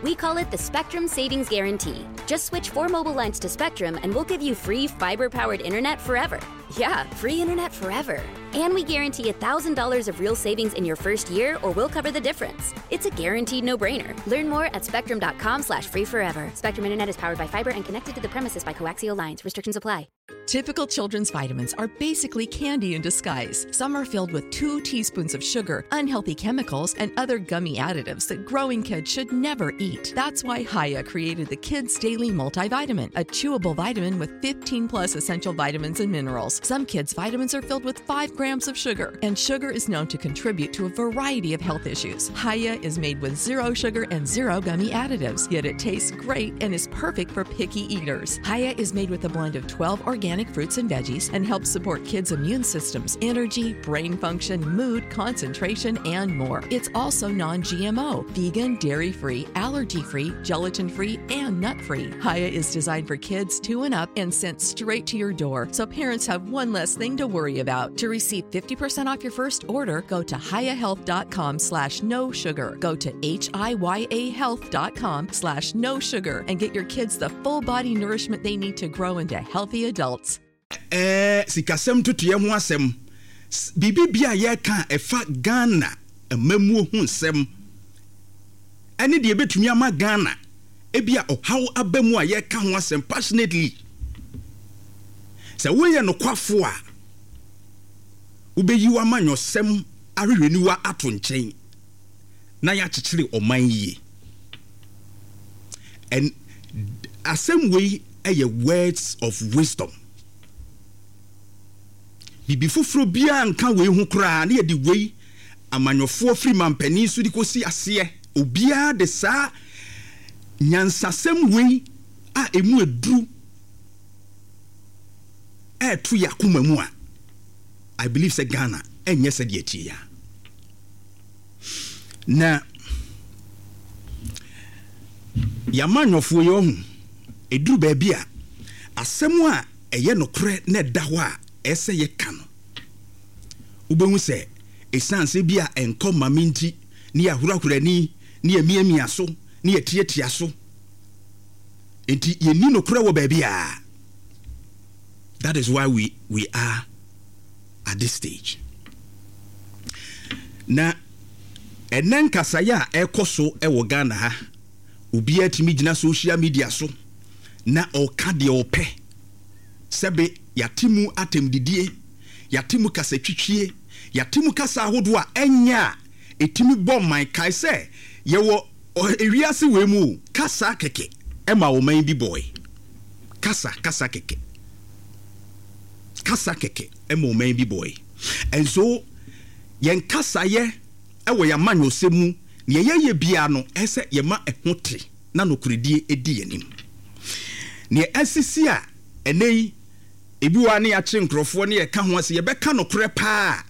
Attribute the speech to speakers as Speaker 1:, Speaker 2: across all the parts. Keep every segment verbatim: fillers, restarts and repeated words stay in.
Speaker 1: We call it the Spectrum Savings Guarantee. Just switch four mobile lines to Spectrum and we'll give you free fiber powered internet forever. Yeah, free internet forever. And we guarantee one thousand dollars of real savings in your first year, or we'll cover the difference. It's a guaranteed no-brainer. Learn more at spectrum dot com slash free forever. Spectrum Internet is powered by fiber and connected to the premises by coaxial lines. Restrictions apply.
Speaker 2: Typical children's vitamins are basically candy in disguise. Some are filled with two teaspoons of sugar, unhealthy chemicals, and other gummy additives that growing kids should never eat. That's why Hiya created the Kids Daily Multivitamin, a chewable vitamin with fifteen plus essential vitamins and minerals. Some kids' vitamins are filled with five grams of sugar, and sugar is known to contribute to a variety of health issues. Hiya is made with zero sugar and zero gummy additives, yet it tastes great and is perfect for picky eaters. Hiya is made with a blend of twelve organic fruits and veggies and helps support kids' immune systems, energy, brain function, mood, concentration, and more. It's also non G M O, vegan, dairy free, allergy free, gelatin free, and nut free. Hiya is designed for kids two and up and sent straight to your door, so parents have one less thing to worry about. To receive fifty percent off your first order, go to hiyahealth dot com slash no sugar. Go to H I Y A health dot com slash no sugar and get your kids the full body nourishment they need to grow into healthy adults.
Speaker 3: Ɛɛ sikasɛm ntotoeɛ ho asɛm, biribi bia a yɛreka a ɛfa Ghana amammuo ho nsɛm ɛne deɛ ɛbɛtumi ama Ghana ebi a ɔhaw aba mu a yɛreka ho asɛm passionately, sɛ woyɛ nokwafo a, wobɛyi w'amanyɔsɛm ahwehwɛniwa ato nkyɛn na yɛakyekyere ɔman yie. And asɛm wei yɛ words of wisdom. Biribi foforɔ biara nka wei ho koraa ne yɛde wei amanyɔfoɔ firi mampanin so de kɔsi aseɛ, obiara de saa nyansasɛm wei a emu eduru ɛɛto yɛ akoma mu a, I believe sɛ Ghana ɛnyɛ sɛdeɛ tie ya na yɛamanyɔfoɔ yi ɔho ɛduru baabi a asɛm a ɛyɛ nokorɛ na ɛda hɔ a ɛsɛ yɛka no, wobɛhu sɛ ɛsiane sɛ bi a ɛnkɔ mame nti ne yɛahorahora ani ne yɛmiamia so ne yɛtiatia so nti yɛnni nokorɛ wɔ baabi a. That is why we, we are at this stage. Na ɛnɛ nkasaeɛ a ɛkɔ so wɔ Ghana ha, obiara tumi gyina social media so na ɔka deɛ ɔpɛ. Sɛbe, yɛate mu atɛmdidie, yɛate mu kasatwitwie, yɛate mu kasa ahodoɔ a ɛnyɛ a ɛtumi bɔ man. Kae sɛ yɛwɔ ewiase wei mu o, kasa kɛkɛ ɛma ɔman bi bɔe. Kasa kasa kɛkɛ, kasa kɛkɛ ɛma ɔman bi bɔe. And so yɛn kasayɛ ɛwɔ yɛn amanyɔsɛm mu, nea yɛyɛ biara no, ɛsɛ yɛma ɛho te na nokoredie edi yɛn anim. Nea ɛsisi a ɛnɛ yi, ebi wɔ a ne yɛakye nkurɔfoɔ ne yɛka ho ase, yɛbɛka nokorɛ paa,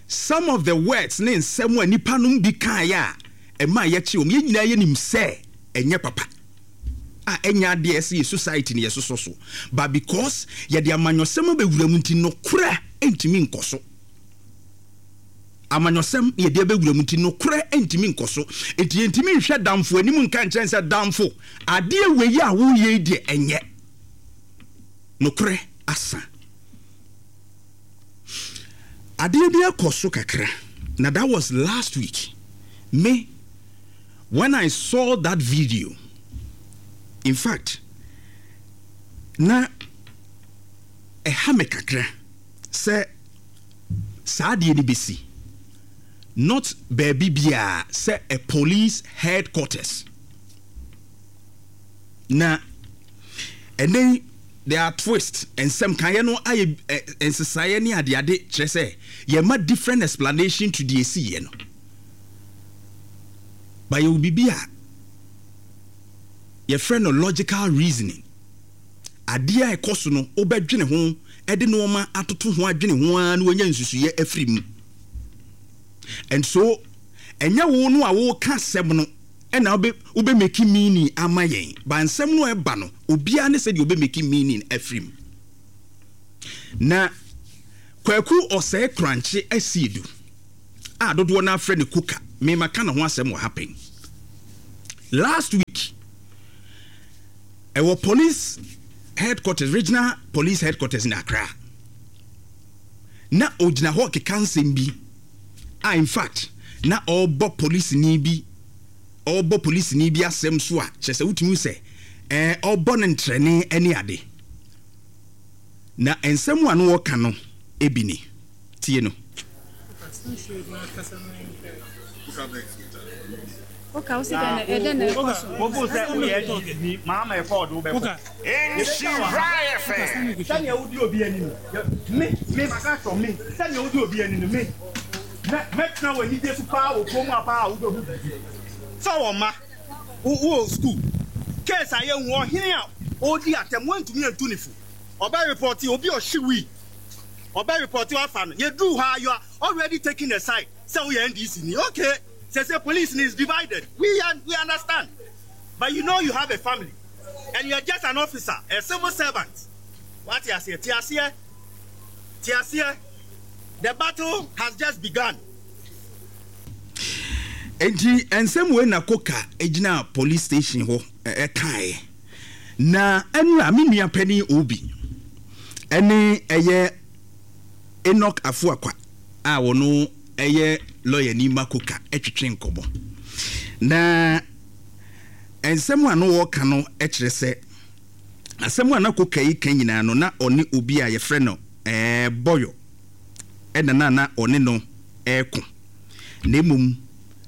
Speaker 3: some of the words ne nsɛm a nipa nom bi kaeɛ a ɛma yɛkye wɔn, yɛn nyinaa yɛnim sɛ ɛnyɛ papa a ɛnyɛ adeɛ ɛsɛ yɛ society ne yɛsosɔ so, but because yɛde amanyɔsɛm abɛwura mu nti, nokorɛ ntumi nkɔ so. Amanyɔsɛm yɛde abɛwura mu nti, nokorɛ ntumi nkɔ so. Nti yɛntumi nhwɛ damfo anim nka nkyɛn sɛ, "Damfo, adeɛ wei a woyɛ yi deɛ, ɛnyɛ nokorɛ." Asa adeɛ bi akɔ so kakra na that was last week. Me, when I saw that video, in fact, na ɛha me kakra sɛ saa adeɛ no bɛsi not baabi biara sɛ a police headquarters. Na ɛnɛ yi, there are twist, nsɛm kaeɛ no ayɛ nsesaeɛ ne adeade, kyerɛ sɛ yɛma different explanation to deɛ ɛsiiɛ no. But yɛwɔ biribi a yɛfrɛ no logical reasoning. Adeɛ a ɛkɔ so no, wobɛdwene ho, ɛde nneɛma atoto ho, adwene ho ara na wanya nsusuiɛ afiri mu. And so ɛnyɛ wo no a woka asɛm no ɛna wobɛ wobɛ make meaning ama yɛn ba. Nsɛm no ɛba no, obiara ne sɛdeɛ wobɛ make meaning afiri mu. Na Kwaku Ɔsɛe Korankye asi edu a dodoɔ no afrɛ no Koka, mema ka ne ho asɛm wɔ happen last week. Ɛwɔ police headquarters, regional police headquarters in Accra. Na ogyina hɔ keka nsɛm bi a, in fact, na ɔrebɔ polisini bi ɔrebɔ polisini bi asɛm so a kyerɛ sɛ wotumi sɛ ɛɛ ɔrebɔ no ntrɛne ne ade. Na nsɛm a no wɔka no ebi ni. Tie no.
Speaker 4: Woka wo sɛ dɛn na ɛdɛn na ɛkɔ so?
Speaker 5: Wobu sɛ woyɛ N D C ni maama ɛkɔ ɔde wobɛkɔ.
Speaker 6: Nhyira F M.
Speaker 5: Sɛnea wodi obi ani no, me me maka kyerɛ me sɛnea wodi obi ani no, me mɛ mɛtena wɔ anigye so paa wɔ kurom a paa a wobɛhu biribi. Sɛ wɔ mma wo wɔ school case a yɛhu ɔhene a ɔredi atɛm, woantumi antu ne fo, ɔbɛ report obi a ɔhye wii, ɔbɛ report afa no, yɛduru hɔ a you are already taking a side sɛ woyɛ N D C ni. Okay, sɛ sɛ police ni is divided, we we understand, but you know you have a family and you are just an officer, a civil servant. Wate aseɛ? Te aseɛ, te aseɛ, the battle has just begun.
Speaker 3: Nti nsɛm wei na Koka gyina police station hɔ ɛkaeɛ. Na ɛnura me nua panin Obi ɛne ɛyɛ Enoch Afuakwa a wɔno ɛyɛ lawyer ni ma Koka ɛtwetwe nkɔmɔ, na nsɛm a no wɔka no kyerɛ sɛ asɛm a na Koka yi ka nyinaa no, na ɔne obi a yɛfrɛ no ɛɛ Bɔyɔ ɛna na na ɔne no ɛɛko, na mmom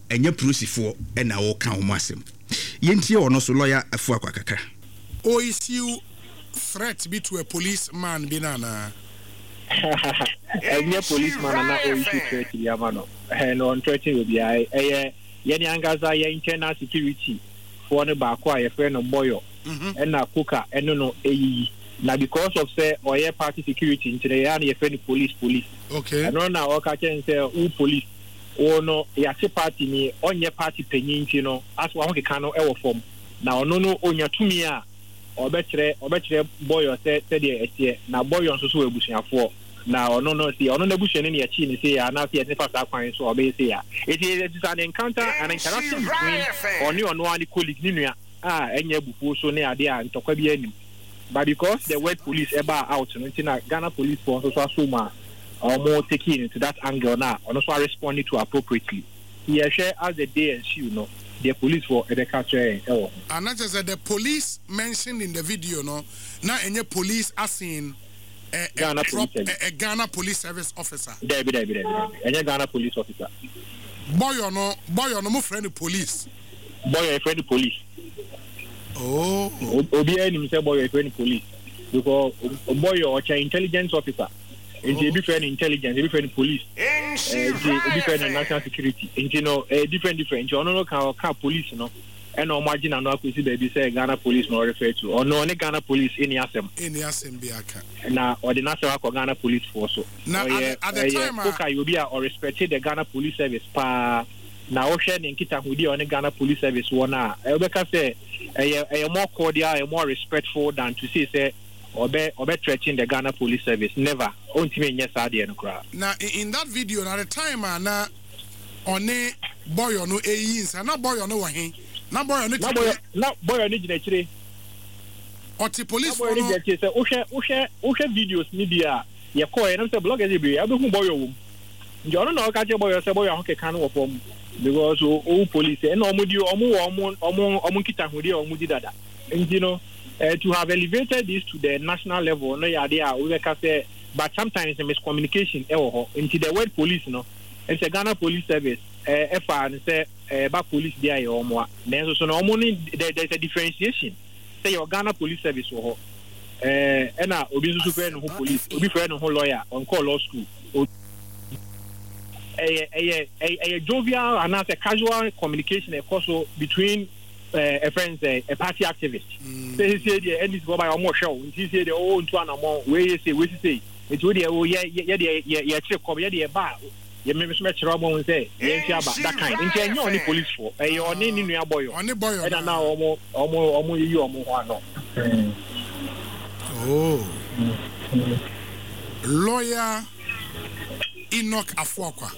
Speaker 3: ɛnyɛ polisifoɔ ɛna ɔka wɔn asɛm. Yɛntie ɔno so, lawyer Afuakwa, kakra.
Speaker 6: O issue threat bi to a policeman bi na anaa?
Speaker 7: Ɛnyɛ policeman na na ɔissue threat bi ama no. Ɛɛ no, ɔnthreaten obiara. Ɛyɛ yɛne ankasa yɛ internal security foɔ no baako a yɛfrɛ no Bɔyɔ ɛna Koka ɛno no ɛyiyi na because of sɛ ɔyɛ party security nti no, yɛa no yɛfrɛ no police police.
Speaker 6: Okay
Speaker 7: ɛno na ɔka kyɛn sɛ wo police wo no yɛate party ni, ɔnyɛ party panyin nti no aso ahokeka no ɛwɔ fam, na ɔno no onya tumi a ɔbɛkyerɛ ɔbɛkyerɛ Bɔyɔ sɛ sɛdeɛ ɛteɛ, na Bɔyɔ nso so wɔ abusuafoɔ, na ɔno no si ɔno n'abusuani ne yɛkyi ne se ya anaasɛ yɛde fa saa kwan so a ɔbɛyɛ se ya. Eti it is an encounter, an interaction between ɔne ɔno ara ne colleague, ne nua a ɛnyɛ abufuo so ne adeɛ a ntɔkwa bi anim, but because the word police ɛbaa out no nti na Ghana Police foɔ nso so aso mu a wɔn taking into that angle na ɔno nso arespond to appropriately. Yɛhwɛ as the day ensue no deɛ police foɔ ɛbɛka kyerɛ yɛn ɛwɔ ho.
Speaker 6: Ana kyerɛ sɛ the police mentioned in the video no na ɛnyɛ police as in a, a,
Speaker 7: Ghana
Speaker 6: prop,
Speaker 7: Police Service.
Speaker 6: a, a Ghana Police Service officer?
Speaker 7: Dɛbi, dɛbi, dɛbi, dɛbi, ɛnyɛ Ghana Police officer.
Speaker 6: Bɔyɔ no, Bɔyɔ no mo frɛ no police?
Speaker 7: Bɔyɔ yɛfrɛ no police.
Speaker 6: Oh.
Speaker 7: O- obiara nim sɛ Bɔyɔ yɛfrɛ no police because Bɔyɔ ɔkyɛ intelligence officer nti ebi frɛ no intelligence, ebi frɛ no police, ɛɛ nti ebi frɛ no national security, nti no ɛyɛ different different. Nti ɔno no ka ɔka police no ɛna ɔmo agye n'ano akɔsi baabi sɛ Ghana Police na ɔrefer to. Ɔno ɔne Ghana Police ɛni asɛm.
Speaker 6: Ɛni asɛm bi aka.
Speaker 7: Na ɔde n'asɛm akɔ Ghana Police foɔ so.
Speaker 6: Na at
Speaker 7: ɔyɛ
Speaker 6: the, at the
Speaker 7: ɛyɛ
Speaker 6: time a
Speaker 7: Koka yɛ obi a ɔrespect the Ghana Police Service paa, na ɔhwɛ ne nkitahodi a ɔne Ghana Police Service wɔ no a, ɛwobɛka sɛ ɛyɛ ɛyɛ more cordial, ɛyɛ more respectful than to say sɛ ɔbɛ ɔbɛ threaten the Ghana Police Service. Never, ɔntumi nyɛ saa deɛ no koraa.
Speaker 6: Na in, in that video na at the time a na ɔne Bɔyɔ no ɛyi nsa, na Bɔyɔ no wɔ he? Na Bɔyɔ no
Speaker 7: na
Speaker 6: te
Speaker 7: Bɔyɔ na Bɔyɔ no gyina akyire.
Speaker 6: Ɔte
Speaker 7: Na
Speaker 6: police
Speaker 7: Bɔyɔ
Speaker 6: foɔ
Speaker 7: no
Speaker 6: no
Speaker 7: gyina akyire. Sɛ wohwɛ wohwɛ wohwɛ videos ni bi a yɛkɔɔ yɛ nam sɛ bloggers bebree abɛhu Bɔyɔ wɔ mu, nti ɔno na ɔka kyerɛ Bɔyɔ sɛ Bɔyɔ ahokeka no wɔ fam because owu police ɛna ɔmo di ɔmo wɔ ɔmo ɔmo ɔmo nkitahodi a ɔmo di dada. Nti no uh, to have elevated this to the national level no yɛ adeɛ a wobɛka sɛ, but sometimes miscommunication ɛwɔ hɔ, nti the word police no ɛsɛ Ghana Police Service ɛɛ ɛfa no sɛ ɛɛba police deɛ ayɛ ɔmo a, nanso so no ɔmo ne there there is a differentiation sɛ yɛ Ghana Police Service wɔ hɔ ɛɛ ɛna obi nso so frɛ ne ho police, obi frɛ ne ho lawyer, ɔnkɔɔ law school. ɛyɛ ɛyɛ ɛyɛ jovial anaasɛ casual communication ɛkɔ so between ɛɛ ɛfrɛ n sɛ a party activist sɛ sɛ deɛ N D C fɔ ba yɛ ɔmo hwɛ o, nti sɛ deɛ ɔwɔ ntu anamɔ wei yɛ sɛ wei sise, nti wo deɛ o yɛ yɛ deɛ yɛ yɛkyerɛ kɔm, yɛ deɛ ba yɛ mímí so mɛkyerɛ ɔmo ho sɛ yɛn fi aba that kind. Nti ɛnyɛ ɔne police fo, ɛyɛ ɔne ne nua Bɔyɔ.
Speaker 6: Ɔne Bɔyɔ.
Speaker 7: Ɛna na ɔmo ɔmo ɔmo yiyi ɔmo ho ano.
Speaker 6: Oh, Lawyer Enoch Afuakwa.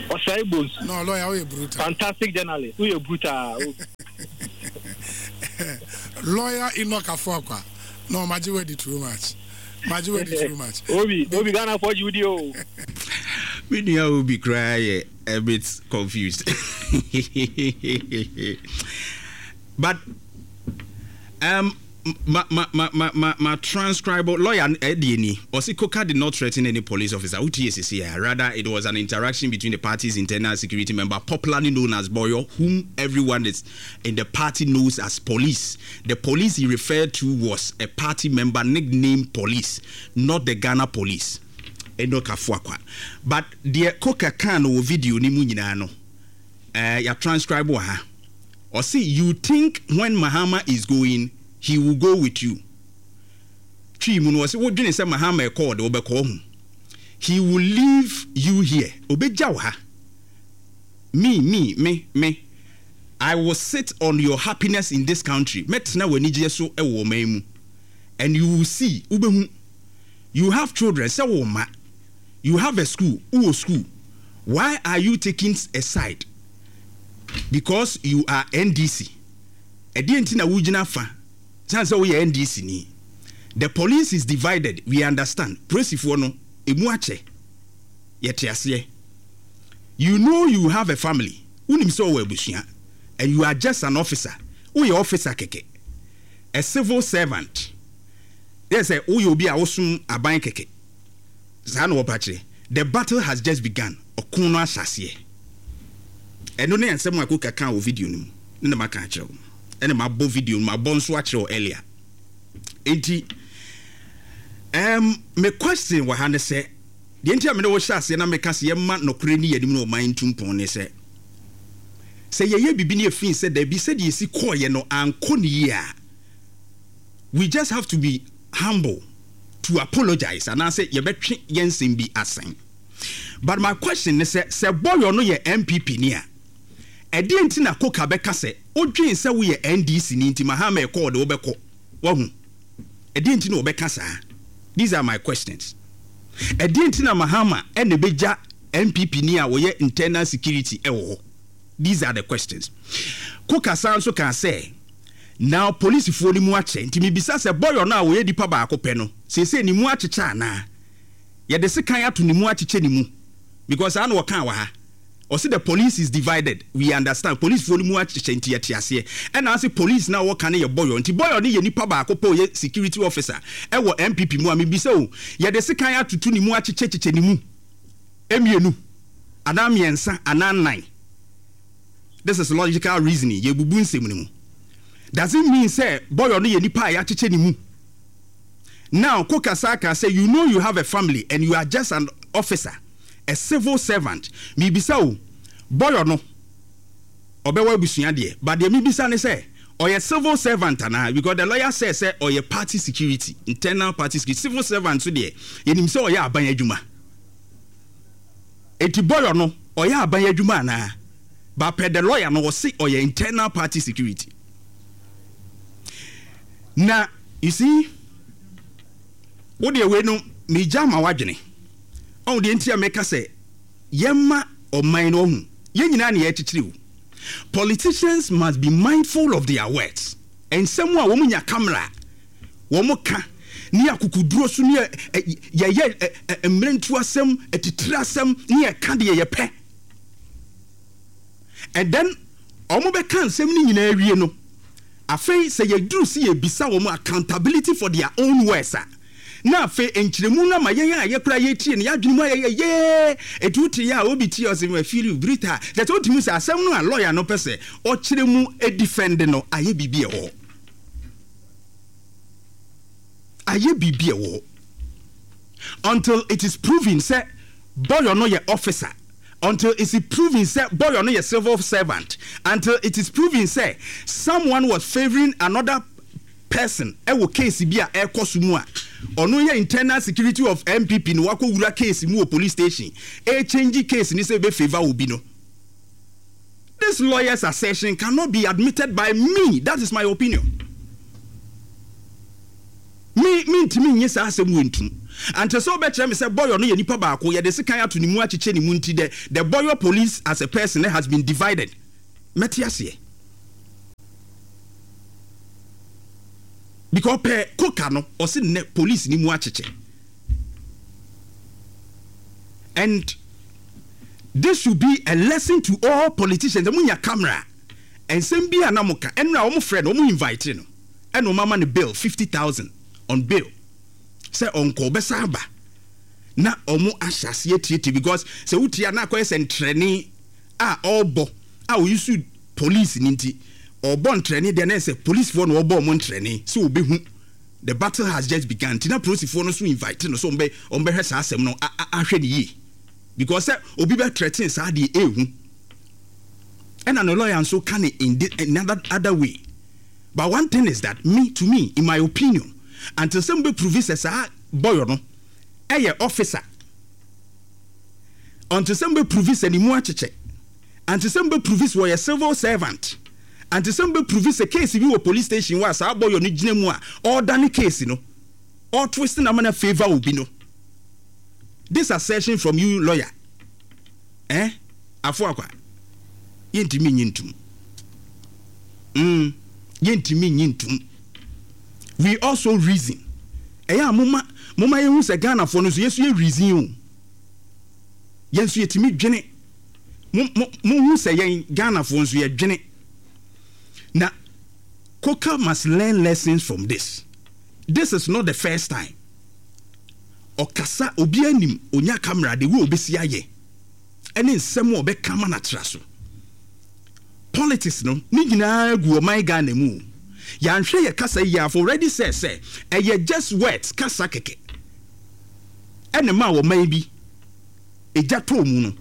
Speaker 7: Ɔsɛe Bonsu.
Speaker 6: No, lawyer, woyɛ brutal.
Speaker 7: Fantastic journalist, woyɛ brutal.
Speaker 6: Lawyer Enoch Afuakwa. No, magye wadi too much. Magye wadi too much.
Speaker 7: Obi, Obi Ghana for you o.
Speaker 3: Me nua Obi koraa yɛ a bit confused. But um, ma ma ma ma ma ma transcribe lawyer ɛdeɛ ni ɔsi Koka did not threaten any police officer. Wotie sisi a, rather it was an interaction between the party's internal security member, popularly known as Boyo, whom everyone is in the party knows as Police. The police he referred to was a party member nicknamed Police, not the Ghana Police. Enoch Afuakwa. But deɛ Koka kan no wɔ video ni mu nyinaa no, ɛɛ yà transcribe wɔ ha. Ɔsi, "You think when Mahama is going, he will go with you." Twi mu no, ɔsi wodwene sɛ Mahama ɛkɔ, ɔde wobɛkɔ ho. "He will leave you here." Obɛgya wo ha. me me me me I will sit on your happiness in this country." Mɛtena w'anigyeɛ so ɛwɔ ɔman mu. "And you will see." Wobɛhu. "You have children," sɛ wo ma. "You have a school," wowɔ school. "Why are you taking a side because you are N D C?" Ɛdeɛ nti na wogyina fa san sɛ woyɛ N D C ni? "The police is divided, we understand." Polisifoɔ no emu akyɛ, yɛte aseɛ. "You know you have a family," wonim sɛ ɔwɔ abusua. "And you are just an officer," woyɛ officer kɛkɛ, "a civil servant," yɛ sɛ woyɛ obi a wosom aban kɛkɛ. Saa na wɔpa kyerɛ. "The battle has just begun." Ɔko no ahyɛ aseɛ. Ɛno ne nsɛm a Koka ka wɔ video no mu ne na maka akyerɛ wo, ɛna mabɔ video no, mabɔ nso akyerɛ wo earlier. Enti um, me question wɔ ha ne sɛ, deɛ nti a mene wo hyɛ aseɛ na meka sɛ yɛma nɔkorɛ ni yɛnim no ɔman ntu mpɔn ne sɛ, sɛ yɛyɛ biribi ne yɛfii sɛ daabi, sɛdeɛ yɛsi kɔɔyɛ no ankɔ ne yie a, we just have to be humble to apologize anaasɛ yɛbɛtwe yɛn nsɛm bi asɛn. But my question ne sɛ, sɛ bɔyɔ no yɛ N P P ni a, ɛdeɛ nti na Koka bɛka sɛ wodwen sɛ woyɛ N D C ni nti Mahama ɛkɔ ɔde wobɛkɔ wahu? Ɛdeɛ nti na wɔbɛka saa? These are my questions. Ɛdeɛ nti na Mahama ɛna ɛbɛgya N P P ni a wɔyɛ internal security ɛwɔ hɔ? These are the questions. Koka san nso kaa sɛ now polisifoɔ no mu akyɛ, nti mibisa sɛ bɔyɔ no a wɔyɛ nipa baako pɛ no, seesei ne mu akyekyɛ anaa yɛde sekan ato ne mu akyekyɛ ne mu? Because saa na wɔkaa wɔ ha. Ɔsi, "The police is divided, we understand." Polisifoɔ no mu akyekyɛ nti yɛte aseɛ. Ɛna ase police na wɔka no yɛ bɔyɔ, nti bɔyɔ no yɛ nipa baako pɛ, ɔyɛ security officer ɛwɔ N P P mu a, mibisa o, yɛde sekan atoto ne mu akyekyɛkyekyɛ ne mu mmienu anaa mmiɛnsa anaa nnan? This is logical reasoning. Yɛbubu nsɛm no mu. Does it mean sɛ bɔyɔ no yɛ nipa a yɛakyekyɛ ne mu? Now Koka Saka say, "You know you have a family and you are just an officer, a civil servant." Mibisa o, bɔyɔ no ɔbɛwɔ abusua deɛ, but deɛ mibisa ne sɛ ɔyɛ civil servant anaa? Because the lawyer say sɛ ɔyɛ party security, internal party security. Civil servant so deɛ, yɛnim sɛ ɔyɛ aban adwuma. Eti bɔyɔ no ɔyɛ aban adwuma anaa? But per the lawyer no, ɔsi ɔyɛ internal party security. Na you see, wo deɛ wei no megya ma wadwene ɔho deɛ nti a meka sɛ yɛma ɔman no ɔho yɛn nyinaa ne yɛkyekyere o. Politicians must be mindful of their words. Nsɛm a wɔn nya camera wɔn ka ne akukuduro so ne yɛyɛ mmerentu asɛm, atitire asɛm ne yɛka deɛ yɛpɛ, and then wɔn bɛka nsɛm no nyinaa wie no, afei sɛ yɛduru si yɛbisa wɔn accountability for their own words a, na afei nkyerɛmu no ama yɛn a yɛkora yɛtie no, yɛadwene mu ayɛyɛ yee. Ɛti wote yɛ a, obi tie ɔsɛ afiri brita kyɛ sɛ wotumi sɛ asɛm no a lawyer no pɛ sɛ ɔkyerɛ mu defend no ayɛ biribi ɛwɔ hɔ, ayɛ biribi ɛwɔ hɔ until it is proven sɛ bɔyɔ no yɛ officer, until it is proven sɛ bɔyɔ no yɛ civil servant, until it is proven sɛ someone was favouring another person ɛwɔ case bi a ɛkɔ so mu a ɔno yɛ internal security of N P P no, wakɔ wura case mu wɔ police station, ɛchange case ni sɛ ebe favour obi no. This lawyer's assertion cannot be admitted by me. That is my opinion. Me me ntumi nye saa asɛm wɔ ntum ante sɛ wobɛkyerɛ me sɛ bɔyɔ no yɛ nipa baako, yɛde sekan ato ne mu akyekyɛ ne mu, nti the the bɔyɔ police as a person has been divided, mɛte aseɛ. Because pɛ koka no ɔsi nnɛ police ni mu akyekyɛ. And this should be a lesson to all politicians. Mo nya camera, nsɛm bi a na mo ka ɛnura, wɔn frɛ no, wɔn invite no, ɛna wɔn ama no bail fifty thousand on bail sɛ ɔnkɔ, ɔbɛsa aba na wɔn ahyɛ aseɛ tietie, because sɛ wotie a, na akɔyɛ sɛ ntrɛne a ɔrebɔ a oyi so police ni, nti ɔbɔ ntrɛne deɛ na yɛ sɛ policefoɔ na ɔbɔ ɔmo ntrɛne sɛ ɔbɛhu the battle has just begun. Nti na polisifoɔ no so invite no so ɔmo bɛ ɔmo bɛhwɛ saa asɛm no ahwɛ ne yie, because sɛ obi bɛ threaten saa deɛ, ehu. Ɛna ne lawyer nso ka ne in the another other way. But one thing is that me to me, in my opinion, until sɛ mo bɛ prove sɛ saa boy no ɛyɛ officer, until sɛ mo bɛ prove sɛ ne mu akyekyɛ, until sɛ mo bɛ prove sɛ wɔyɛ civil servant, until sɛ mo bɛ prove sɛ case bi wɔ police station wɔ a saa boy no gyina mu a ɔredane case no, ɔtwist na ama favour obi no, this assertion from you, lawyer, eh afo akwa, yɛntumi nyi ntum mm yɛntumi nyi ntum. We also reason. Ɛyɛ a moma moma yɛhu sɛ Ghanafoɔ no nso, yɛso yɛ reason o, yɛn nso yɛtumi dwene. Mo mo mohu sɛ yɛn Ghanafoɔ nso yɛdwene. Na Koka must learn lessons from this. This is not the first time ɔkasa. Obi anim onya camera de wo obesi ayɛ ɛne nsɛm a ɔbɛka ma n'atra so. Politics no ne nyinaa gu ɔman Ghana mu. Yɛanhwɛ yɛ kasa yi afɔ already sɛ sɛ ɛyɛ just words, kasa kɛkɛ, ɛne ma ɔman bi egya tɔɔ mu no.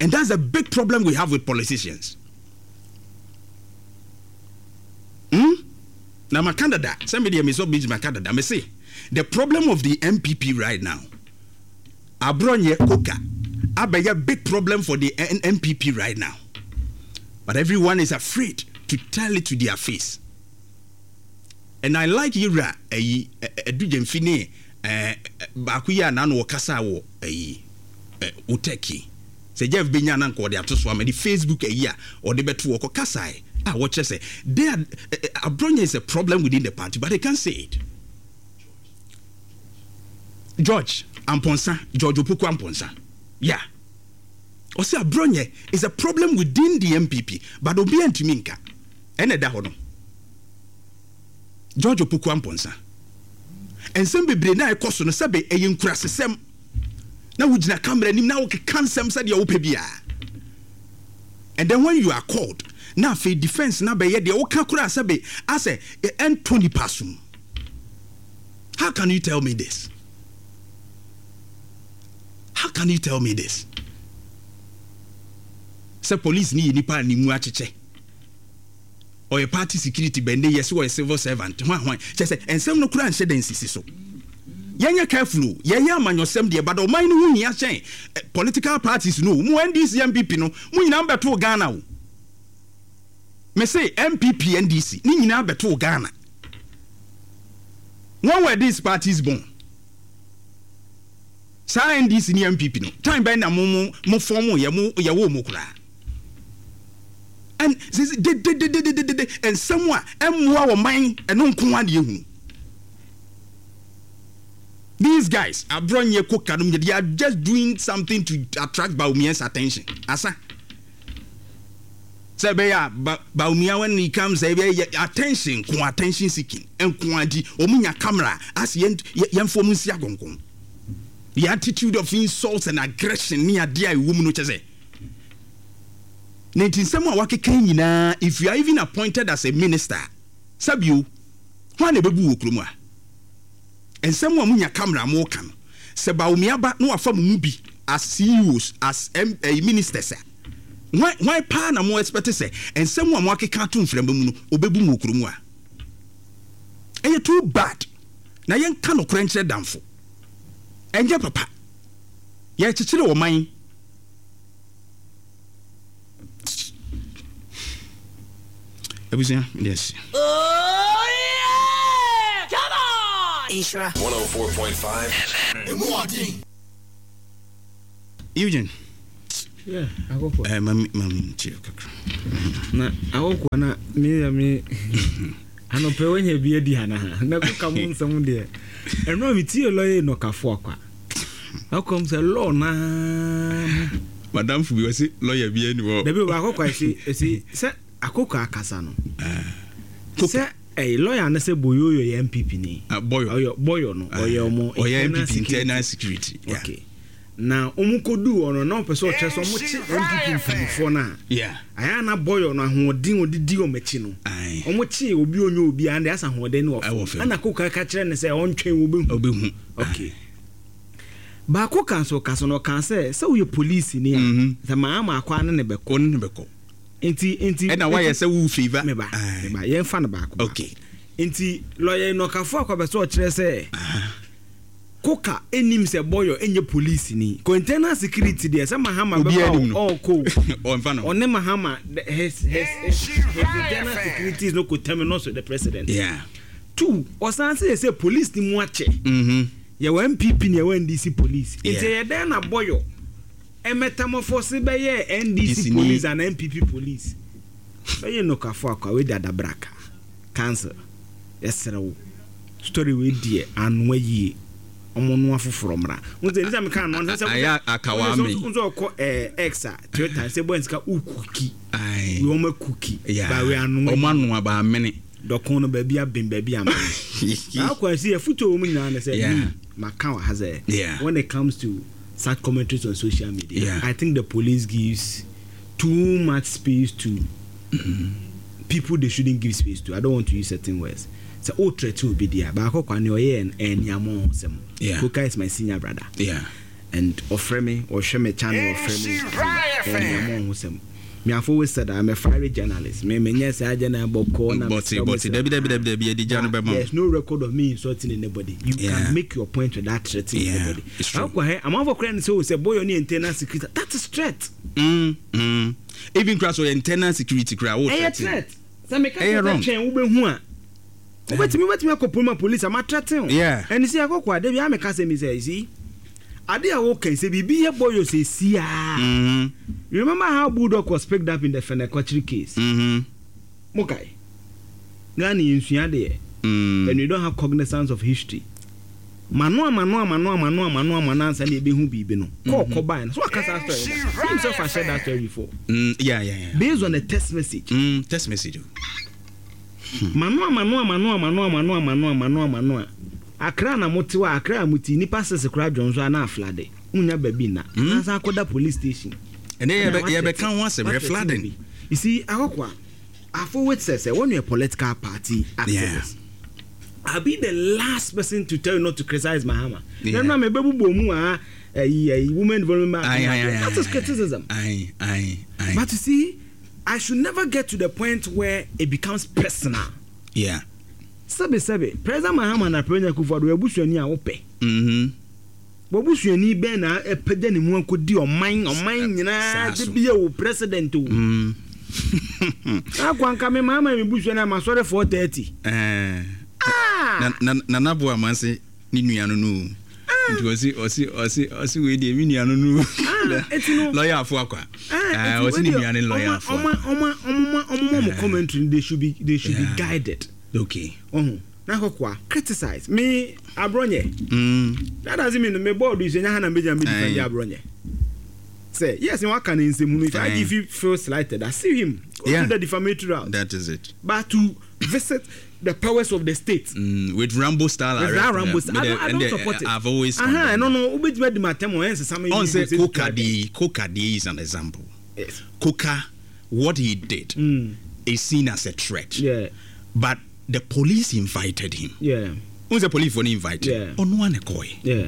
Speaker 3: And that's a big problem we have with politicians hmm? Na maka dada sɛ me deɛ, me sɔ bi maka dada, me se the problem of the N P P right now, Abronye Koka abɛyɛ big problem for the N P P right now, but everyone is afraid to tell it to their face. And I like yewura ayi Adu Gyamfi ne ɛɛ baako yi a n'ano wɔkasa wɔ ayi ɛ wotɛki sɛ Jeff benya na nka ɔde ato so ama de Facebook ayi a ɔde bɛto wɔ kɔ kasae a wɔkyerɛ sɛ they are Abronye is a problem within the party, but they can't say it. George Amponsa, George Opoku Amponsa, yeah, ɔsɛ Abronye is a problem within the N P P, but obi antumi nka. Ɛna ɛda hɔ no, George Opoku Amponsa, nsɛm bebree na ɛkɔ so no, sɛbe ɛyɛ nkurasesɛm na wogyina camera anim na wokeka nsɛm sɛdeɛ wopɛ biara. And then when you are called, na afei defense na bɛyɛ deɛ woka koraa, sɛbe asɛ ɛntɔ nipa so. How can you tell me this? How can you tell me this sɛ police ni yɛ nipa a ne mu akyekyɛ, ɔyɛ party security bɛnde, yɛ sɛ ɔyɛ civil servant, hwan hwan, kyɛ sɛ nsɛm no koraa nhyɛ da nsisi so. Yɛnyɛ careful o. Yɛyɛ amanyɔsɛm deɛ, but ɔman no ho hia kyɛn political parties no. Mu N D C, N P P no, mu nyinaa bɛtoo Ghana o. Me se N P P, N D C ne nyinaa bɛtoo Ghana. When were these parties born? Saa N D C ne N P P no, time bɛn na mo mo mo form yɛ, mo yɛwɔ mo koraa? And sisi dededededede nsɛm a ɛmmoa wɔ man ɛno nko ara de ehunu. These guys, Abronye, Koka nom, they are just doing something to attract Bawumia's attention. Asa sɛ ɛbɛyɛ a ba Bawumia, when he comes, ɛbɛyɛ attention nko, attention seeking nko adi. Wɔn nya camera ase, yɛn yɛn fɔ wɔn nsi agonkon. The attitude of insults and aggression ne adeɛ a ɛwɔ mu no, kyɛ sɛ ne nti nsɛm a wakeka nyinaa, if you are even appointed as a minister, sabio hwan na ɛbɛbu wɔ kurom a nsɛm a munya camera mo ka no, sɛ Bawumia ba na wafa mo mu bi as C E Os, as M, eh, ministers a, hwan hwan paa na mo expect sɛ nsɛm a mo akeka ato mframa mu no obɛbu mu wɔ kurom a? Ɛyɛ too bad. Na yɛnka nokorɛ nkyerɛ damfo, ɛnyɛ papa. Yɛkyekyere ɔman. Abusua, yes.
Speaker 8: Oh yeah! Come on!
Speaker 9: Nhyira
Speaker 10: one oh four point five F M.
Speaker 3: Eugene.
Speaker 11: Yeah, akɔkɔ.
Speaker 3: Eh, mami mami ntie kakra.
Speaker 11: Na akɔkɔ na me ya me Anɔpɛ wonya bi adi anaa? Na koka mu nsɛm deɛ ɛno a metie lɔyɛ nɔkafo akwa akɔm sɛ lɔɔ naa
Speaker 3: madamfo bi wɔse lɔya bi ani hɔ.
Speaker 11: Dabi baakɔ kwa ɛsi ɛsi sɛ akoko akasa no sɛ ɛyɛ lɔya no sɛ Boyoyo yɛ N P P ni.
Speaker 3: Ah, Boyo.
Speaker 11: Ɔyɛ Boyo no, ɔyɛ ɔmo
Speaker 3: ɔyɛ
Speaker 11: internal
Speaker 3: N P P internal security, yeah.
Speaker 11: Okay, na ɔmo kɔduu hɔ no, na ɔpɛ sɛ ɔkyerɛ sɛ ɔmo kye N P P mpanimfoɔ no a
Speaker 3: yeah
Speaker 11: ayɛ ana Boyo no ahoɔden ɔde di ɔmo akyi no,
Speaker 3: Aye.
Speaker 11: ɔmo kye obi onye obi a ɛna asa ahoɔden no
Speaker 3: Ɛwɔ
Speaker 11: wɔ
Speaker 3: fam.
Speaker 11: fam, ɛna koka ka kyerɛ ne sɛ ɔntwɛn, wɔbɛhu.
Speaker 3: Ɔbɛhu.
Speaker 11: Okay, baako ka nso ka so no, ɔka sɛ sɛ woyɛ polisi ni a
Speaker 3: Mhm.
Speaker 11: sɛ maa ma akɔ ano ne bɛkɔ.
Speaker 3: Ɔno ne bɛkɔ.
Speaker 11: Nti nti
Speaker 3: ɛna wayɛ sɛ wo favour.
Speaker 11: Meba.
Speaker 3: Aye.
Speaker 11: Meba, yɛmfa no baako baako.
Speaker 3: Okay.
Speaker 11: Nti lɔyɛ nɔkafo akɔbɛ sɛ ɔkyerɛ sɛ koka enim sɛ Bɔyɔ enye polisi ni ko internal security deɛ sɛ Mahama
Speaker 3: Obiara
Speaker 11: bɛba
Speaker 3: nim no.
Speaker 11: ɔɔkɔ
Speaker 3: ɔmfa no.
Speaker 11: Ɔne Mahama the- his his his his internal security is no coterminous with the president.
Speaker 3: Yeah
Speaker 11: two, ɔsan sɛ yɛ sɛ police ni mu akyɛ
Speaker 3: mhm
Speaker 11: yɛwɔ N P P ne yɛwɔ N D C police, nti
Speaker 3: Yeah.
Speaker 11: ɛyɛ dɛn na Bɔyɔ ɛmɛtamɔfo bɛyɛ N D C
Speaker 3: D C ni-
Speaker 11: police and N P P police bɛyɛ nɔkafo akɔ wei dadabraka council yɛsrɛ wo, story wei deɛ anoa yie, ɔmo noa foforɔ mmra n sɛ nisa meka anoa sɛ
Speaker 3: Ayɛ akawa me.
Speaker 11: n sɛ ɔkɔ ɛɛ X a Twitter sɛ bɔ nsika ukuki
Speaker 3: Aye.
Speaker 11: wei ɔmo akuki
Speaker 3: Yeah.
Speaker 11: ba wei anoa.
Speaker 3: Ɔmo anoa ba amene.
Speaker 11: Dɔkon no baabi aben, baabi amene akɔ ɛsi yɛfoto wɔ mu nyinaa ne sɛ
Speaker 3: Yeah.
Speaker 11: me maka wɔ ha sɛ
Speaker 3: Yeah.
Speaker 11: when it comes to such commentaries on social media,
Speaker 3: Yeah.
Speaker 11: I think the police gives too much space to people they shouldn't give space to. I don't want to use certain words sɛ o threaten obi deɛ baako kwa ne ɔyɛ ɛniamɔ sɛm.
Speaker 3: Yeah.
Speaker 11: Koka is my senior brother
Speaker 3: yeah
Speaker 11: and ɔfrɛ me, ɔhwɛ me channel, ɔfrɛ me ɛniamɔ ho sɛm. Me, I've always said I'm a fiery journalist. Me me nyɛ saa journal bɔkɔ na
Speaker 3: bɔte bɔte, dabi dabi dabi dabi, yɛde gya no bɛma wo.
Speaker 11: There's no record of me insulting anybody. You
Speaker 3: Yeah.
Speaker 11: can make your point without threatening
Speaker 3: Yeah,
Speaker 11: anybody.
Speaker 3: it's true.
Speaker 11: Akɔ hɛ amanfo kora ne sɛ o sɛ Boyɔ ne internal security, that is threat.
Speaker 3: Mm, mm. even kura so internal security kura wo
Speaker 11: Ɛyɛ
Speaker 3: threaten.
Speaker 11: threat sɛ meka
Speaker 3: Ɛyɛ
Speaker 11: sɛ
Speaker 3: wrong.
Speaker 11: twɛn wobɛhu a wobɛtumi wobɛtumi akɔ polima police ama threaten o.
Speaker 3: Yeah.
Speaker 11: Ɛne sɛ akɔkɔ ade bi ameka sɛ mi sɛ, you see, ade a woka sɛ biribi yɛ Boyɔ sɛ siaa.
Speaker 3: Mhm,
Speaker 11: You remember how Bulldog was picked up in the Fenekotri case?
Speaker 3: mhm,
Speaker 11: Mokae Ghana yɛnsua deɛ
Speaker 3: mm.
Speaker 11: and we don't have cognizance of history. Mano amano amano amano amano amano ansa na ebehu biribi no kɔɔ kɔ baa no so waka saa story da. He himself has shared that story before
Speaker 3: Mm, yeah, yeah, yeah.
Speaker 11: based on a text message.
Speaker 3: Mm, text message o.
Speaker 11: Mano amano amano amano amano amano amano amano a Akra na mote hɔ a, Akra a mote nipa sese koraa dwon so a na aflade wonya baabi na na san akɔda police station.
Speaker 3: Ɛnɛ
Speaker 11: Ɛna
Speaker 3: yɛbɛ- yɛbɛka ho asɛm yɛ flooding.
Speaker 11: You see, akɔkɔ a I've always said sɛ when you're a political party activist, I'll be the last person to tell you not to criticize Mahama.
Speaker 3: Yeah.
Speaker 11: Yeah. Na me bebu mu a ɛyi ɛyi women development.
Speaker 3: Aye, aye, aye,
Speaker 11: That is
Speaker 3: aye,
Speaker 11: criticism.
Speaker 3: Aye, aye, aye.
Speaker 11: But you see, I should never get to the point where it becomes personal.
Speaker 3: Yeah.
Speaker 11: Sɛbi sɛbi, President Mahama na President Akufo-Addo abusuani a wopɛ.
Speaker 3: Mhm.
Speaker 11: Wabusuani bɛn na ɛpɛgya ne mu akɔdi ɔman ɔman nyinaa
Speaker 3: saa
Speaker 11: de
Speaker 3: so.
Speaker 11: bi yɛ wo president o.
Speaker 3: Mm.
Speaker 11: Akɔ anka me Mahama mi busuani a ma sɔre four thirty.
Speaker 3: Eh.
Speaker 11: Ah!
Speaker 3: Na na Nana Boa Amanse ne nua no no o. Nti ɔsi ɔsi ɔsi ɔsi wei deɛ mi nua no no.
Speaker 11: Ah, eti no-
Speaker 3: Lɔya afo akwa. Ah, ɔsi ne nua ne lɔya afo.
Speaker 11: Ɔma ɔma ɔma ɔma ɔmo commentary, they should be they should
Speaker 3: Yeah.
Speaker 11: be guided.
Speaker 3: Okay.
Speaker 11: Ɔho na akɔkɔa criticize me Aborɔnyɛ.
Speaker 3: Mm.
Speaker 11: That doesn't mean me board is nya ha na mbɛgyina mbɛ defend
Speaker 3: Aye.
Speaker 11: Aborɔnyɛ. Sɛ yes, waka ne nsɛm hunu, if
Speaker 3: Aye.
Speaker 11: I G feel slighted, I see him go
Speaker 3: Yeah.
Speaker 11: through the defamatory route.
Speaker 3: That is it.
Speaker 11: But to visit the powers of the state
Speaker 3: Mm, with Rambo style
Speaker 11: with
Speaker 3: arrest.
Speaker 11: that Rambo style, I
Speaker 3: Me
Speaker 11: don't, I
Speaker 3: de-
Speaker 11: don't
Speaker 3: and de-
Speaker 11: support it.
Speaker 3: I've always
Speaker 11: Aha,
Speaker 3: condemned
Speaker 11: no no wobɛtumi adi ma atɛm ɔyɛ nsesa
Speaker 3: On say Koka di Koka di is an example.
Speaker 11: Yes.
Speaker 3: Koka, what he did
Speaker 11: Mm.
Speaker 3: is seen as a threat.
Speaker 11: Yeah,
Speaker 3: But the police invited him.
Speaker 11: yeah,
Speaker 3: Who's the police for invited?
Speaker 11: Yeah.
Speaker 3: Ono ane koi.
Speaker 11: yeah.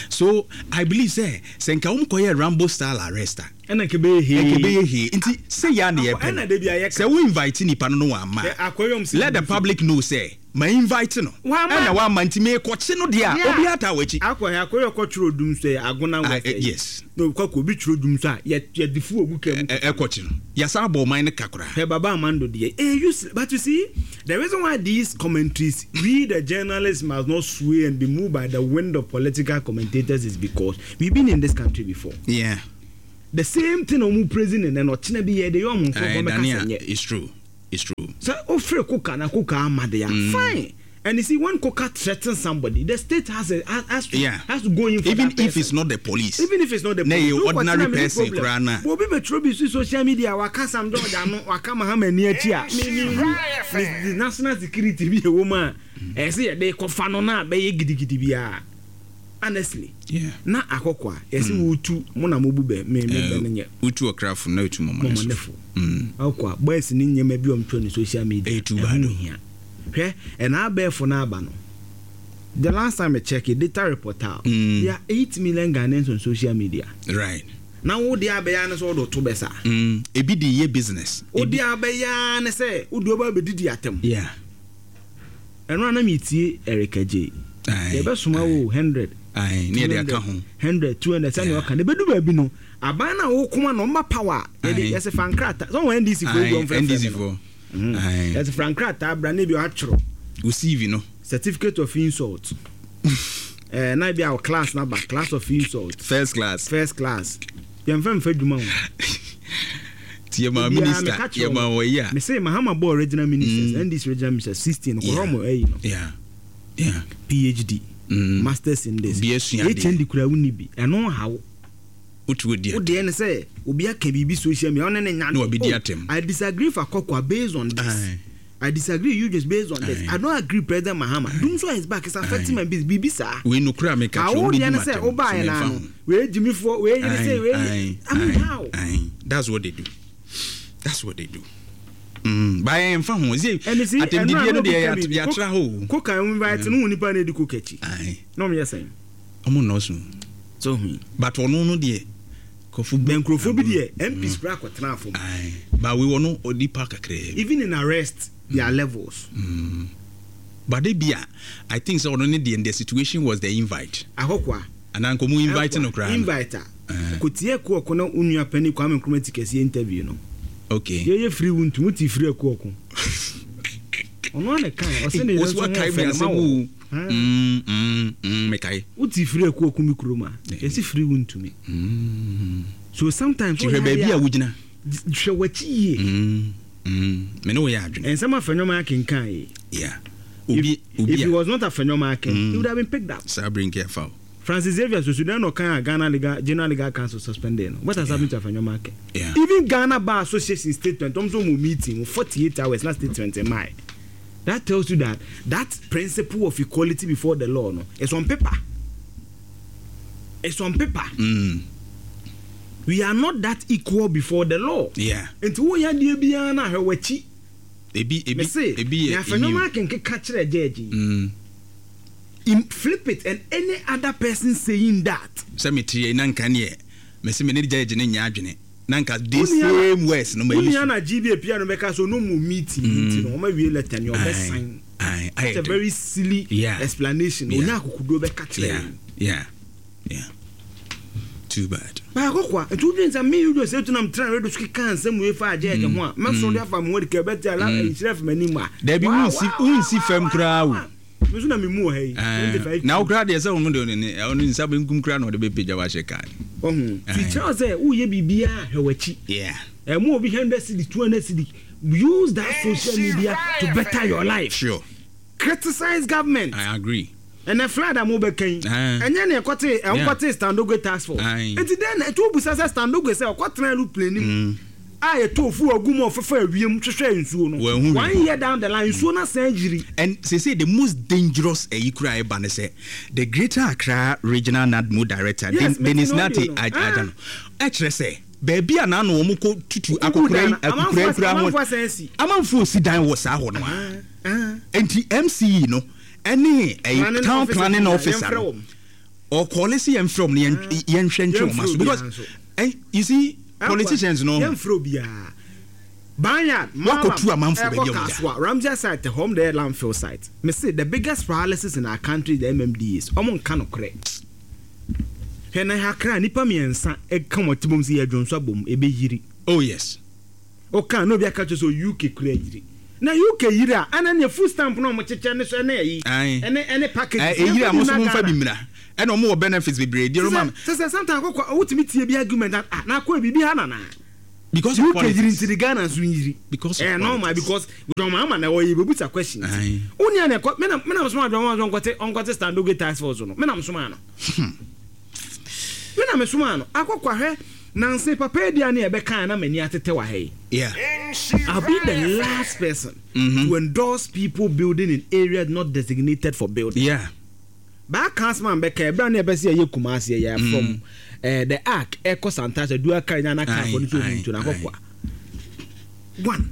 Speaker 3: So I believe say sɛ nka wɔn kɔyɛ Rambo style arrest a.
Speaker 11: Ɛna nkebe hee.
Speaker 3: Nkebe yɛ hee nti sɛ yɛ ani yɛ
Speaker 11: Ɛna de bi ayɛ
Speaker 3: pɛ sɛ wo invite nipa no no wa ma.
Speaker 11: Akɔyɔm si.
Speaker 3: Let the public know sɛ ma invite no.
Speaker 11: Wama.
Speaker 3: Ɛna wa ma nti me kɔkye no deɛ a obi ata wɔ akyi.
Speaker 11: Akɔ akɔyɔ kɔ twerɛ dum so yɛ Agona
Speaker 3: Ah,
Speaker 11: West.
Speaker 3: eh, yes.
Speaker 11: Na okɔ kɔ obi twerɛ dum so a yɛ yɛ de fu ogu kɛm.
Speaker 3: Ɛ ɛkɔkye no yasa abɔ ɔman no kakra.
Speaker 11: Hey, Baba Amando deɛ eh useless, but you see, the reason why these commentaries, we the journalists must not sway and be moved by the wind of political commentators is because we've been in this country before.
Speaker 3: Yeah.
Speaker 11: The same thing ɔmo praising and then ɔkyena bi yɛ de yɛ ɔmo
Speaker 3: Eh,
Speaker 11: nkurɔfoɔ mɛka
Speaker 3: Dania,
Speaker 11: sɛ nyɛ.
Speaker 3: it's true. It's true.
Speaker 11: Sɛ ofiri Koka na Koka ama de a,
Speaker 3: Mm.
Speaker 11: fine. And you see, when Koka threatens somebody, the state has a has, has to
Speaker 3: Yeah.
Speaker 11: has to go in for
Speaker 3: Even
Speaker 11: that person.
Speaker 3: if it's not the police.
Speaker 11: Even if it's not the
Speaker 3: Na
Speaker 11: police.
Speaker 3: ɛyɛ
Speaker 11: Wokɔtena
Speaker 3: ordinary
Speaker 11: me ne
Speaker 3: person
Speaker 11: problem.
Speaker 3: koraa na.
Speaker 11: But obi bɛtwerɛ bi so social media, waka Sam George ano, waka Mahama ani akyi a, me me hu the the national security bi ɛwɔ mu a, ɛyɛ sɛ yɛde kɔfa no na bɛyɛ gidigidi biara. Honestly.
Speaker 3: Yeah.
Speaker 11: Na akɔkɔ a yɛsɛ wotu mo na mobu bɛ me me bɛ no nyɛ.
Speaker 3: Wotu ɔkrafo na wotu mɔmɔnefo.
Speaker 11: Mɔmɔnefo.
Speaker 3: Mm.
Speaker 11: Akɔ a boys ne nneɛma bi a ɔmtwerɛ ne social media.
Speaker 3: Ɛyɛ too
Speaker 11: Ɛho
Speaker 3: bad o.
Speaker 11: hia. Hwɛ, ɛna abɛɛfo no aba no, the last time I check it, data reporter,
Speaker 3: Mm.
Speaker 11: there are eight million Ghanaians on social media.
Speaker 3: Right.
Speaker 11: Na wo deɛ abɛyɛ ne sɛ wode to bɛ saa.
Speaker 3: Mm. Ebi de yɛ business.
Speaker 11: Wo deɛ abɛyɛ ne sɛ wode ɔba bɛdidi atɛm.
Speaker 3: Yeah.
Speaker 11: Ɛno a na metie Erica J.
Speaker 3: Aye.
Speaker 11: Yɛbɛsoma wo hundred.
Speaker 3: Aye. Ne yɛde aka ho.
Speaker 11: Hundred, two hundred, sɛnea ɔka no ɛbɛdu baabi no, aban no a wokoma no ɔma power a yɛde
Speaker 3: Aye.
Speaker 11: yɛsɛ fa nkrataa sɛ wɔn N D C foɔ
Speaker 3: Aye.
Speaker 11: bi ɔmfrɛfrɛ
Speaker 3: N D C
Speaker 11: me no.
Speaker 3: foɔ. Aye.
Speaker 11: Yɛsɛ fa nkrataa bra na ebi atwerɛ
Speaker 3: wo C V no.
Speaker 11: Certificate of insult, ɛɛ na ebi a class naba, class of insult.
Speaker 3: First class.
Speaker 11: First class, yɛmfɛ mfɛ dwuma ho.
Speaker 3: Ti yɛ ma
Speaker 11: Obiara,
Speaker 3: minister
Speaker 11: meka kyerɛ
Speaker 3: yɛ ma
Speaker 11: wɔn.
Speaker 3: wɔ yi a.
Speaker 11: Me say Mahama bɔ regional ministers, N D C regional ministers sixteen kɔrɔ
Speaker 3: Yeah.
Speaker 11: mo ɛyi no.
Speaker 3: Yeah. Yeah.
Speaker 11: P H D,
Speaker 3: Mm.
Speaker 11: masters in this.
Speaker 3: Bi asua adeɛ.
Speaker 11: H N D kura wo ni bi, ɛno ha wo.
Speaker 3: Wotu odi
Speaker 11: Wo deɛ ne sɛ obi aka biribi social media, ɔne ne nya.
Speaker 3: Na wabi di
Speaker 11: Oh,
Speaker 3: atɛm.
Speaker 11: I disagree for Akɔkɔ based on this.
Speaker 3: Aye.
Speaker 11: I disagree you just based on this.
Speaker 3: Aye.
Speaker 11: I don't agree President Mahama. Dumso is back is affecting my business, biribi saa.
Speaker 3: Wei nokura a meka kyerɛ
Speaker 11: Awo
Speaker 3: wo
Speaker 11: deɛ
Speaker 3: bɛdi
Speaker 11: ne
Speaker 3: ma
Speaker 11: sɛ
Speaker 3: atɛm.
Speaker 11: wobaeɛ
Speaker 3: So
Speaker 11: na
Speaker 3: memfa
Speaker 11: no
Speaker 3: ho.
Speaker 11: wei gyimifoɔ, wei yere sɛ
Speaker 3: Aye,
Speaker 11: wei
Speaker 3: aye,
Speaker 11: I mean
Speaker 3: aye,
Speaker 11: how?
Speaker 3: Aye. That's what they do. That's what they do. Mm. Ba yɛmfa ho. Sɛ
Speaker 11: Ɛne si
Speaker 3: atɛmdidie no deɛ
Speaker 11: ɛno a
Speaker 3: yɛat- yɛatra hɔ o.
Speaker 11: Koka invite no, wo nipa na edi koka akyi
Speaker 3: Aye.
Speaker 11: na ɔmo yɛ sɛn?
Speaker 3: Ɔmo nnɔɔso.
Speaker 11: So hu.
Speaker 3: But ɔno no deɛ kɔfo
Speaker 11: bɛn nkurɔfoɔ bi deɛ M Ps kura akɔtena afɔm.
Speaker 3: Aye. Ba wei wɔ no onipa kakraa bi.
Speaker 11: Even in arrest there are levels.
Speaker 3: Mm. But de bi a I think sɛ ɔno ne deɛ, the situation was the invite.
Speaker 11: Akɔkɔa.
Speaker 3: Anaa nkɔmɔ invite no koraa no.
Speaker 11: Invite a
Speaker 3: Eh.
Speaker 11: kotie ɛkɔ ɔko na onua panyin Kwame Nkrumah ti kɛseɛ interview no.
Speaker 3: Okay.
Speaker 11: Yɛyɛ firi wu ntum ti firi ɛkɔ ɔko, ɔno ana kan ɔsɛ ne yɛrɛ
Speaker 3: Wosi
Speaker 11: nso ho
Speaker 3: wakae
Speaker 11: ɔfɛ
Speaker 3: mi
Speaker 11: ne ma
Speaker 3: asɛm
Speaker 11: wɔ.
Speaker 3: o. Mm, mm, mm, mekae.
Speaker 11: Wote firi ɛkɔ ɔko mi kurom a yɛsi firi wu ntumi.
Speaker 3: Mm.
Speaker 11: So sometimes
Speaker 3: Ti hwɛ baabi a wogyina.
Speaker 11: Hwɛ w'akyi yie.
Speaker 3: Mm, mm. Me ne wo yɛ adwene.
Speaker 11: Nsɛm Afenyo akenkan yi.
Speaker 3: Yeah. Obi obi
Speaker 11: If
Speaker 3: a
Speaker 11: it was not Afenyo Markin,
Speaker 3: Mm.
Speaker 11: he would have been picked up.
Speaker 3: Saa bere nke afa o.
Speaker 11: Francis Xavier Sosu no kan a Ghana Legal General Legal Council suspended no. What has happened to Afenyo Markin?
Speaker 3: Yeah.
Speaker 11: Even Ghana Bar Association statement, ɔmo nso mo meeting forty eight hours na statement ɛmaa. That tells you that that principle of equality before the law no is on paper. It's on paper.
Speaker 3: Mm.
Speaker 11: We are not that equal before the law.
Speaker 3: Yeah.
Speaker 11: Nti wo yɛ adeɛ biara na ahwɛ w'akyi.
Speaker 3: Ebi ebi
Speaker 11: Mese,
Speaker 3: ebi yɛ
Speaker 11: Afenyo
Speaker 3: immune.
Speaker 11: Markin keka kyerɛ judge yi.
Speaker 3: Mm.
Speaker 11: Im flip it and any other person saying that.
Speaker 3: Sɛ mete yɛ na nka neɛ mese me ne judge ne nyɛ adwene na nka the
Speaker 11: Wo nua-
Speaker 3: same words no ma
Speaker 11: wo
Speaker 3: yi
Speaker 11: nua
Speaker 3: so.
Speaker 11: na G B A pia no bɛka so no mu meeting nti no ɔma wie letter ni ɔbɛ sign.
Speaker 3: Aye, aye,
Speaker 11: It's a very silly
Speaker 3: Yeah.
Speaker 11: explanation.
Speaker 3: Yeah.
Speaker 11: Onya akokodo bɛka kyerɛ
Speaker 3: Yeah.
Speaker 11: yɛn.
Speaker 3: Yeah. Yeah. Too bad.
Speaker 11: Baako kwa nti wodwen sɛ me wodwen sɛ tunam tena radio so keka nsɛm wei fa agye agye ho a mɛsoro de afa me ho de ka bɛte ala nhyira fi m'anim a.
Speaker 3: Dabi, wonsi wonsi fam koraa o.
Speaker 11: Me nso na memu wɔ ha yi.
Speaker 3: Eh, na wo koraa deɛ sɛ ɔno deɛ ɔne ɔno nsa benkum koraa na ɔde bɛpagya wahyɛ kaa.
Speaker 11: Ɔhu nti kyerɛ wo sɛ woyɛ biribiaa, hwɛ w'akyi.
Speaker 3: Yeah.
Speaker 11: Ɛmu obi hundred cedi, two hundred cedi, use that social media to better your life.
Speaker 3: Sure.
Speaker 11: Criticize government.
Speaker 3: I agree.
Speaker 11: Ɛnɛ flood a mo bɛka yi,
Speaker 3: Ah.
Speaker 11: ɛnyɛ ne ɛkɔte ɛnkɔte Stan Dogbe task force.
Speaker 3: Aye.
Speaker 11: Nti dɛn na ɛti obusa sɛ Stan Dogbe sɛ ɔkɔtena aeroplane mu a yɛtɔ ofu agu mu a ɔfɛfɛ awiem hwehwɛ nsuo no,
Speaker 3: Wɔahu hwee.
Speaker 11: one year down the line nsuo no asan yiri.
Speaker 3: And say say the most dangerous ɛyi kura ɛba ne sɛ the Greater Accra Regional NADMO director,
Speaker 11: Yes,
Speaker 3: Den- Dennis
Speaker 11: mete
Speaker 3: Nate
Speaker 11: n'audio no.
Speaker 3: Agya no, ɛkyerɛ sɛ baabi a n'ano wɔn kɔ tutu akokora yi akokora yi kura ho
Speaker 11: amanfoɔ asan asi.
Speaker 3: Amanfoɔ si dan wɔ saa hɔ no a nti M C E no ɛne ɛyi
Speaker 11: Planning
Speaker 3: town
Speaker 11: officer
Speaker 3: planning
Speaker 11: bi a,
Speaker 3: officer
Speaker 11: yɛmfrɛ
Speaker 3: no
Speaker 11: wɔn.
Speaker 3: ɔkɔɔle si yɛn frɛ wɔn na yɛn yɛnhwɛ ntwe wɔn aso
Speaker 11: Yɛmfrɛ
Speaker 3: because
Speaker 11: obiara nso.
Speaker 3: eh, you see, politicians no
Speaker 11: yɛmfrɛ obiara. Banyard
Speaker 3: Wakɔtu amanfoɔ baabi a wɔda.
Speaker 11: Kasoa Ramsey site hɔ the landfill site. Me say the biggest paralysis in our country is the M M D As. Ɔmo nka no korɛ. Hwɛ na Accra nipa mmiɛnsa ɛka wɔn ti bom sɛ yɛdwo nso abom ɛbɛyiri.
Speaker 3: Oh yes.
Speaker 11: Ɔka na obi aka kyerɛ sɛ U K kura yiri na U K yiri a ɛna ne food stamp na ɔmo kyekyɛ ne so ɛne ɛyi
Speaker 3: Aye.
Speaker 11: ɛne ɛne package.
Speaker 3: Eh, eyiri a mo so mo nfa bi mmira ɛna ɔmo wɔ benefits bebree deɛ ɔmo
Speaker 11: sɛ sɛ sometimes akɔkɔ wotumi tie bi argument ah na akɔ biribi ha nana.
Speaker 3: Because of
Speaker 11: U K yiri
Speaker 3: politics.
Speaker 11: nti Ghana nso nyiri.
Speaker 3: Because of
Speaker 11: Eh, normal
Speaker 3: politics.
Speaker 11: because John Mahama na ɔyɛ bebusa question.
Speaker 3: Aye.
Speaker 11: Unia na ɛkɔ me na me na soma John Mahama ɔnkɔte ɔnkɔte stand oge task force no. Me na soma no. Me na me soma no. Akɔkɔ ahwɛ nanse papa edi ani ɛbɛka na mani atete wɔ ha yi.
Speaker 3: Yeah.
Speaker 11: I'll be the last person
Speaker 3: mm-hmm.
Speaker 11: to endorse people building in areas not designated for building.
Speaker 3: Yeah.
Speaker 11: Ba councilman bɛka ɛbra na ɛbɛsɛ yɛ Kumasi yɛ
Speaker 3: Mm.
Speaker 11: from eh, the ark ɛkɔ Santase dua kari na na kaa
Speaker 3: Aye,
Speaker 11: fɔ ne so
Speaker 3: aye,
Speaker 11: omi ntu na akɔkɔ a. One,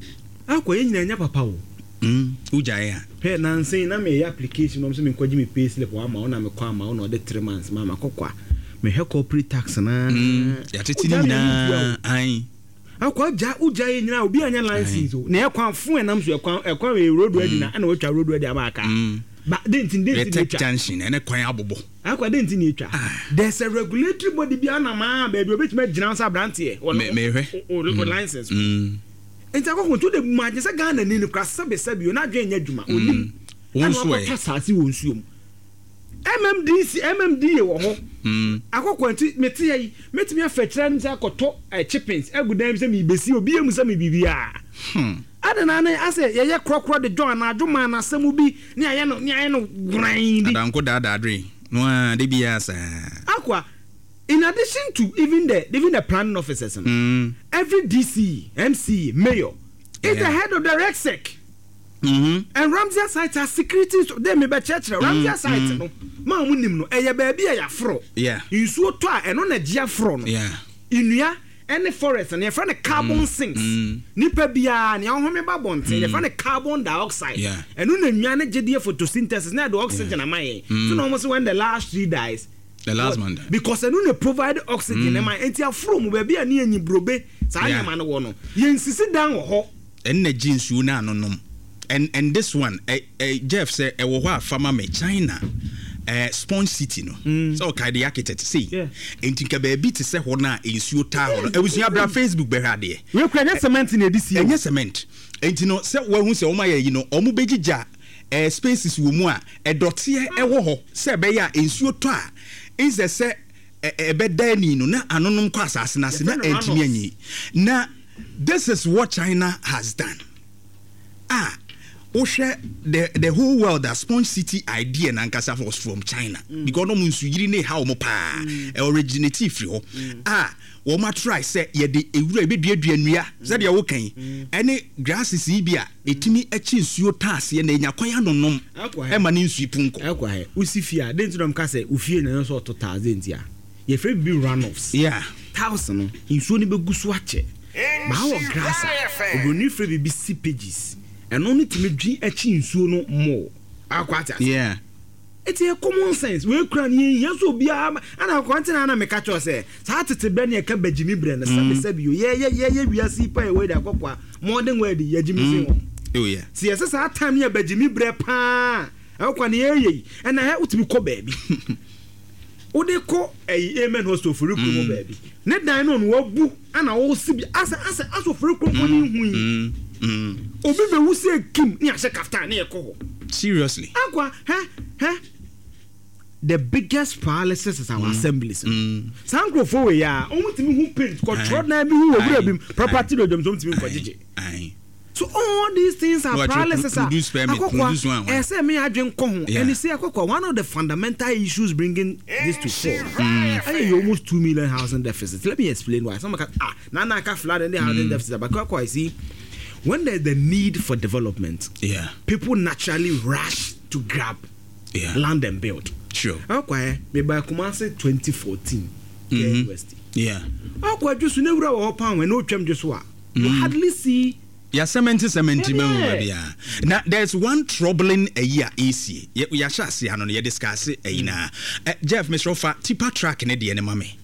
Speaker 11: akɔ yɛ nyina nyɛ papa o.
Speaker 3: Mm. Wogyae a.
Speaker 11: Hwɛ nansen na meyɛ application na ɔmo sɛ menkɔgye me pay slip wɔ ama wo na mekɔ ama wo na ɔde three months ma ma akɔkɔ a. Mehwɛ corporate tax na.
Speaker 3: Mm. Yɛatete ne
Speaker 11: Wogyae me
Speaker 3: nyinaa. Aye.
Speaker 11: Akɔ gya wogya yɛ nyinaa obi anya license o. Na ɛkwan fo ɛnam so ɛkwan ɛkwan wɔ road ready na ɛna wɔatwa road ready ama aka. Ba de nti de nti na
Speaker 3: Retec
Speaker 11: etwa.
Speaker 3: junction ɛne kwan abobɔ.
Speaker 11: Akɔ de nti na etwa. There's a regulatory body bi anam a baabi obetumi agyina nsa aberanteɛ. Wɔ
Speaker 3: Me- mehwɛ.
Speaker 11: O o license.
Speaker 3: Mm.
Speaker 11: Nti akɔkɔ nti o de mu agye sɛ Ghana ni no kora sɛbi sɛbi o n'adwene nyɛ adwuma. Onim.
Speaker 3: Wɔn
Speaker 11: Ɛna
Speaker 3: nso ɛ.
Speaker 11: wakɔtɔ saase wɔ nsuo mu. M M D C, M M D A wɔ hɔ.
Speaker 3: Mm.
Speaker 11: Akɔkɔ nti mete yɛ yi metumi afɛ kyerɛ no sɛ akɔtɔ ɛ chippings agu dan mu sɛ mebesi obi emu sɛ me biribiara.
Speaker 3: Hmm.
Speaker 11: Ade na ne asɛ yɛyɛ korɔkorɔ de John anadwo ma n'asɛm bi ne ayɛ no ne ayɛ no gwran bi.
Speaker 3: Adanko daadaa dwen. No a de biara saa.
Speaker 11: Akwa, in addition to even the even the planning officers no,
Speaker 3: Mm.
Speaker 11: every D C, M C, mayor is
Speaker 3: Yeah.
Speaker 11: the head of the REGSEC.
Speaker 3: Mm-hmm.
Speaker 11: And Ramsar site are security. They may be church. Ramsar site
Speaker 3: mm.
Speaker 11: no. Ma mu nim no. Eye baabi a yafro.
Speaker 3: Yeah.
Speaker 11: Nsuo tɔ a ɛno na gye afro no.
Speaker 3: Yeah.
Speaker 11: Nnua ɛne forest no yɛfrɛ no carbon sinks.
Speaker 3: Mm.
Speaker 11: Nipa biara nea ɔhome ba bɔnten yɛfrɛ no carbon dioxide.
Speaker 3: Yeah.
Speaker 11: Ɛno na nnua no gye deɛ photosynthesis na ɛde oxygen ama yɛn.
Speaker 3: Mm.
Speaker 11: So na wɔn sɛ when the last tree dies.
Speaker 3: The last man died.
Speaker 11: Because ɛno na provide oxygen ɛma mm. Enti afro mu baabi a ne yɛ nyi saa
Speaker 3: Yeah.
Speaker 11: nneɛma no wɔ no. Yɛn sisi dan wɔ hɔ.
Speaker 3: Ɛno na gye nsuo no anonom. And and this one, eh, eh, Jeff sɛ ɛwɔ hɔ a fama me China. Eh, Sponge City no. Mm. So okay, the architect say.
Speaker 11: Yeah.
Speaker 3: Enti nka baabi te sɛ hɔ no a nsuo taa hɔ no. Abusua bra Facebook bɛhwɛ adeɛ.
Speaker 11: Wei kura nyɛ cement na ɛde sie o.
Speaker 3: Ɛnyɛ cement. Enti no sɛ wahu sɛ wɔn ayɛ yi no, wɔn bɛgyigya eh, spaces wɔ mu a ɛdɔteɛ ɛwɔ hɔ sɛ ɛbɛyɛ a nsuo tɔ a nsɛ sɛ ɛbɛda ani no na anonom kɔ asase no ase na
Speaker 11: Yɛfrɛ no
Speaker 3: ɛntumi
Speaker 11: runoff.
Speaker 3: anyi. Na this is what China has done. Ah, wohwɛ the the whole world a Sponge City idea na ankasa was from China.
Speaker 11: Mm.
Speaker 3: Because ɔmo nsuyiri ne ha ɔmo paa.
Speaker 11: Mm.
Speaker 3: Ɛ originate firi hɔ.
Speaker 11: Mm.
Speaker 3: Ah, wɔn atry sɛ yɛde ewura ebeduadua nnua sɛdeɛ woka yi ɛne grasses yi bi a etumi akyi nsuo taaseɛ na enya kwan anonom
Speaker 11: Akɔ ha.
Speaker 3: ɛma ne nsuo pu nkɔ.
Speaker 11: Akɔ ha. Wosi fie a, den ti na ɔmo ka sɛ ofie na ɛno nso ɔtɔ tiles den ti a. Yɛfrɛ bi runoffs.
Speaker 3: Yeah.
Speaker 11: Tiles no nsuo no bɛgu so akyɛ. Baa wɔ grass a obroni frɛ biribi seepages. Ɛno no tumi dwi akyi nsuo no more. Akɔ ate ase.
Speaker 3: Yeah.
Speaker 11: Eti yɛ common sense. Wei kura ne yɛn yɛn so obiara ana akɔ ante na ana meka kyerɛ sɛ saa tete brɛ ne yɛka bagyimi brɛ no sɛbi sɛbi o. Yɛ yɛ yɛ yɛ wiase pa yɛ wei de akɔkɔ a modern world yɛ gyimi sen wɔn.
Speaker 3: Oh yeah.
Speaker 11: Si yɛsɛ saa time ne yɛ bagyimi brɛ paa. Ɛkɔ ne yɛ yɛ yi. Ɛna hɛ wotumi kɔ baabi. Wode kɔ ɛyi Amen Hostel ofori kurom baabi. Ne dan no no wabu ana wɔsi bi asɛ asɛ asɛ ofori kurom ne hu yi.
Speaker 3: Mm.
Speaker 11: Obi bɛ wusi kim ne ahyɛ kaftan ne yɛ kɔ hɔ.
Speaker 3: Seriously.
Speaker 11: Akwa hɛ hɛ. The biggest paralysis is our mm. assemblies.
Speaker 3: Mm.
Speaker 11: Saa nkurɔfoɔ wei a wɔn tumi hu paint kɔtɔrɔ dan bi hu wɔ wura bi mu property do dwom so wɔn tumi nkɔ gyegye.
Speaker 3: Aye.
Speaker 11: So all these things are
Speaker 3: No, actually,
Speaker 11: paralysis.
Speaker 3: produce permit, produce one,
Speaker 11: Akɔkɔ
Speaker 3: one.
Speaker 11: ɛsɛ mi adwene kɔ ho.
Speaker 3: Yeah.
Speaker 11: Ɛni sɛ akɔkɔ one of the fundamental issues bringing this to fore. Ɛyɛ yɛ almost two million housing deficit. Let me explain why. Some ka ah nana aka flood and the housing deficit but akɔkɔ I see when there is the need for development.
Speaker 3: Yeah.
Speaker 11: People naturally rush to grab
Speaker 3: Yeah.
Speaker 11: land and build.
Speaker 3: Sure.
Speaker 11: Akɔ meba Kumasi twenty fourteen.
Speaker 3: Mhm.
Speaker 11: University.
Speaker 3: Yeah.
Speaker 11: Akɔ adwo so ne wura wɔ hɔ pan wɛ na otwam dwo so a. You hardly see.
Speaker 3: Ya cement cement
Speaker 11: Yeah.
Speaker 3: ma hu bia. Na there's one troubling ayi a esie. Ye ya hyɛ ase ano no ye discuss ayi na. Eh, Jeff Mister Ofa tipa track ne de ne ma me.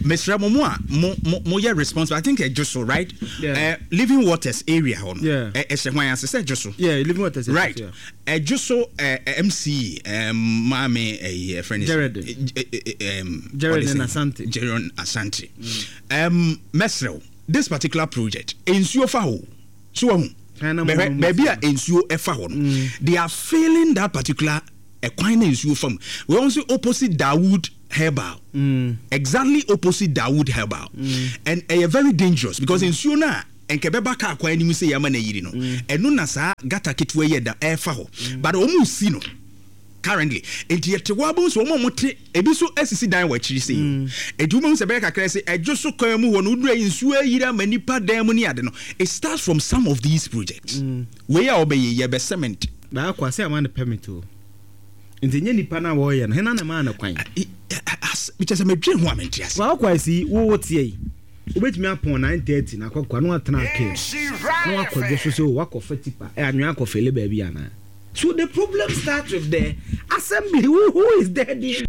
Speaker 3: Mister Mo mo a mo mo mo yɛ responsible. I think ɛdwo so right?
Speaker 11: Yeah.
Speaker 3: Eh, Living Waters area hɔ no.
Speaker 11: Yeah.
Speaker 3: Eh, ɛhyɛ hwan ase sɛ ɛdwo so.
Speaker 11: Yeah, Living Waters.
Speaker 3: Right.
Speaker 11: Yeah.
Speaker 3: Ɛdwo so eh, M C um maame eh friend is
Speaker 11: Jared.
Speaker 3: Eh, eh, eh, um
Speaker 11: Jared
Speaker 3: what is
Speaker 11: and
Speaker 3: it?
Speaker 11: Asante.
Speaker 3: Jared Asante. Um Mesrel, this particular project nsuo fa hɔ. So wahu.
Speaker 11: China
Speaker 3: Bɛhwɛ
Speaker 11: mo-
Speaker 3: baabi a nsuo ɛfa hɔ no. They are failing that particular ɛkwan na nsuo fa mu. We also opposite Dawood Herbal mm. exactly opposite Dawood Herbal mm. and ɛyɛ very dangerous because mm. nsuo no a nka ɛbɛba kaa kwan anim sɛ yɛama no ayiri no, ɛno na saa gutter ketewa yi ɛda ɛrefa hɔ, but wɔn resi no currently, nti yɛte hɔ abɛhu sɛ wɔn a wɔte ebi nso asisi dan wɔ akyiri sei o, nti wobɛhu sɛ ɛbɛyɛ kakra sɛ ɛdwo so kwan mu hɔ no woduru ayi nsuo ayiri ama nipa dan mu ne ade no, it starts from some of these projects wei a wɔbɛyɛ yi ɛbɛ cement.
Speaker 11: Baako ase ama no permit o. Nti ɛnyɛ nipa no a wɔreyɛ no, hena na ɛmaa no kwan?
Speaker 3: Kyerɛ sɛ medwen ho a mente ase.
Speaker 11: Kwaakwa si wo wo teɛ yi, wobɛtumi apɔn nine thirty na akɔkɔ na watena kaa mu na wakɔ dwo so sɛ o wakɔ fa tipa ɛ anwea akɔ fele baabi anaa? So the problem starts with the assembly who who is there doing.